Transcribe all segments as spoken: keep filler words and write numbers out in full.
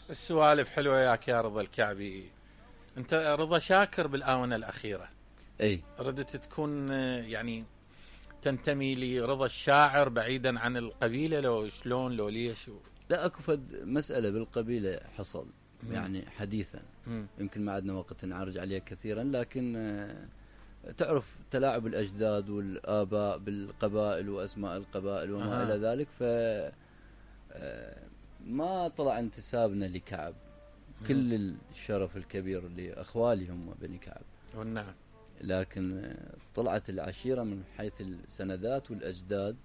السوالف حلوة ياك يا رضا الكعبي. انت رضا شاكر بالآونة الأخيرة. اي ردت تكون يعني تنتمي لرضا الشاعر بعيدا عن القبيلة، لو شلون لو ليش؟ لا اكو فد مسألة بالقبيلة حصل مم. يعني حديثا، مم. يمكن ما عندنا وقت نعرج عليه كثيرا، لكن آه، تعرف تلاعب الأجداد والآباء بالقبائل وأسماء القبائل وما أه. إلى ذلك، ف آه، ما طلع انتسابنا لكعب. كل الشرف الكبير لأخوالي هم بني كعب، والنعم، لكن آه، طلعت العشيرة من حيث السندات والأجداد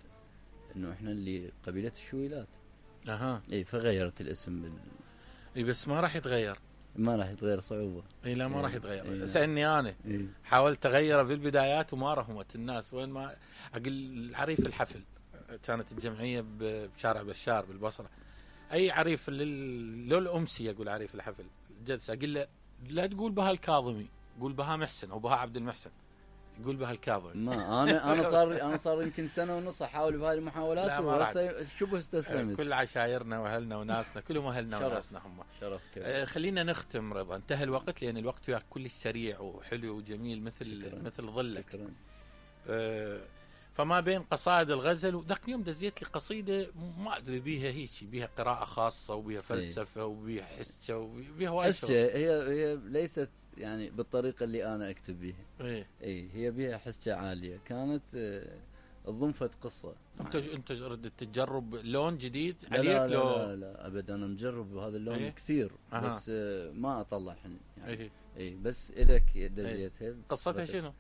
إنه إحنا اللي قبيلة الشويلات. أها. إيه، فغيرت الاسم بال... اي بس ما راح يتغير. ما راح يتغير صعوبة. اي لا ما إيه. راح يتغير. إيه. سألني انا إيه. حاولت اغيره بالبدايات وما رحمت الناس. وين ما اقول العريف الحفل، كانت الجمعيه بشارع بشار بالبصره، اي عريف لل... لو الامسي اقول عريف الحفل الجلسه، اقول له لا تقول بها الكاظمي، قول بها محسن او بها عبد المحسن، يقول بها الكاظمي. ما انا انا صار انا صار يمكن سنه ونص احاول بهذه المحاولات وهسه شبه استسلمت. كل عشايرنا واهلنا وناسنا كلهم اهلنا وناسنا هم. شرف كبير. آه خلينا نختم رضا، انتهى الوقت لان الوقت وياك كلش سريع وحلو وجميل مثل شكراً. مثل ظلك. شكرا. آه فما بين قصائد الغزل، وذاك اليوم دزيت لي قصيده ما ادري بيها هيك، بيها قراءه خاصه وبيها فلسفه وبيها حسه وبيها وايد حسه. هي هي ليست يعني بالطريقه اللي انا اكتب بيها. ايه اي هي بيها حسه عاليه، كانت آه، ضمفت قصه. انت انت ردت تجرب لون جديد لا عليك؟ لا, لو لا لا لا ابدا، انا مجرب هذا اللون إيه؟ كثير. أها. بس آه، ما اطلع يعني. ايه اي بس الك دزيتها. إيه؟ قصتها شنو؟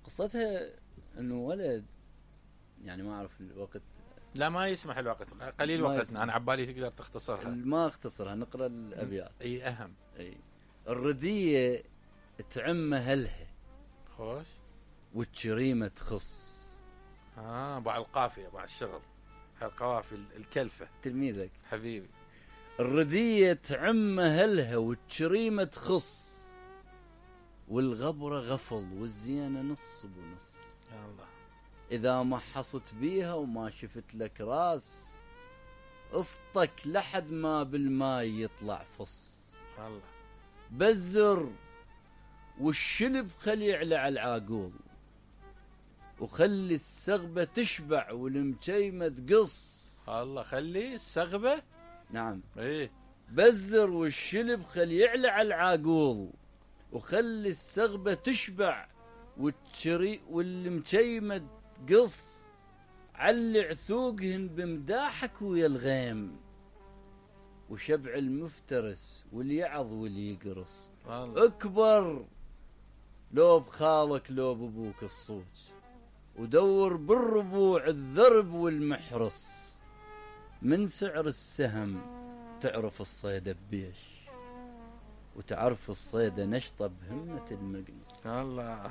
قصتها انه ولد، يعني ما اعرف الوقت. لا ما يسمح الوقت، قليل ما وقتنا. يسمح. انا عبالي تقدر تختصرها. ما اختصرها، نقرا الابيات. اي اهم. اي الردية تعم هلها خوش. والشريمة تخص. اه بعد القافيه بعد الشغل، القوافي الكلفه. تلميذك حبيبي. الردية تعم هلها والشريمة تخص، والغبرة غفل والزينة نص بنص. يا الله. إذا ما حصت بيها وما شفت لك راس، اسطك لحد ما بالماي يطلع فص. الله. بزر والشلب خلي يعلى على العاقول، وخلي السغبة تشبع والمجيمة تقص. الله. خلي السغبة. نعم. ايه. بزر والشلب خلي يعلى على العاقول، وخلي السغبة تشبع والتشري والمجيمة تقص. علي عثوقهن بمداحك ويا الغيم، وشبع المفترس واليعظ واللي يقرص. الله. اكبر لو بخالك لو بابوك الصوج، ودور بالربوع الذرب والمحرص. من سعر السهم تعرف الصيدة ببيش، وتعرف الصيدة نشطة بهمة المقنص. الله.